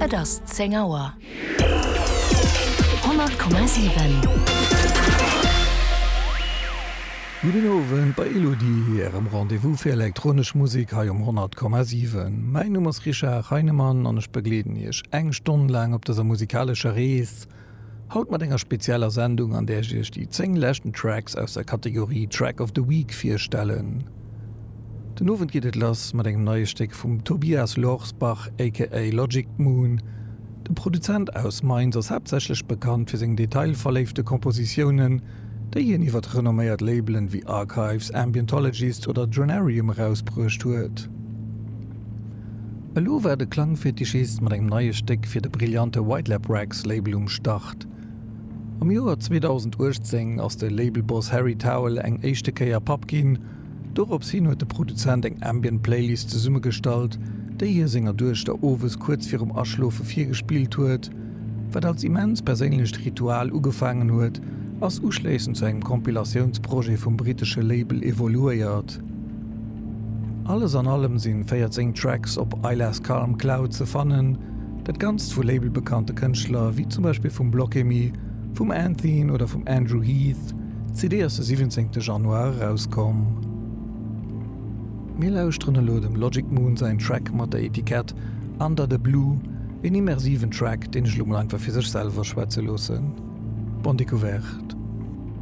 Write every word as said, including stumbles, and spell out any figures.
Et ass zéng Auer. Honnert Komma siwen. Gudden Owend bei Elodie, Ärem Rendez-vous fir elektronesch Musek hei um honnert Komma siwen. Mäin Numm ass Richard Heinemann an ech begleeden Iech eng Stonn laang op dëser musikalescher Rees. Haut mat enger spezieller Sendung, an där ech Iech déi zéng leschten Tracks aus der Kategorie Track of the Week virstellen. Den Owend geet et lass mat engem neie Stéck vum Tobias Lorsbach aka Logic Moon. De Produzent aus Mainz ass haaptsächlech bekannt fir seng detailverléifte Kompositiounen, déi hien iwwer renomméiert Labelen wéi Archives, Ambientologist oder Dronarium erausbruecht huet. Elo war de Klangfetischist mat engem neie Stéck fir de brillante White Lab Recs Label um Start. Am Joer zweedausenduechtzéng ass de Labelboss Harry Towell eng éischte Kéier Papp ginn. Dorops hin huet de Produzent eng Ambient Playlist zesummegestallt, déi hie senger Duechter owes kuerz virum Aschlofe virgespillt huet. Wat als immens perséinlecht Ritual ugefaangen huet, ass uschléissend zu engem Compilatiounsprojet vum brittesche Label evoluéiert. Alles an allem si véierzéng Tracks op Isla's Calm Cloud ze fannen, dat Ganzt vu labelbekannte Kënschtler wéi zum Beispill vum Blockemi, vum Anthene oder vum Andrew Heath. D'C D ass de siwwenzéngte Januar erauskomm. Mir lauschteren elo dem Logic Moon säin Track mat der Etikett Under the Blue, een immersiven Track, deen ech elo mol einfach fir sech selwer schwätze loossen. Bonne découverte.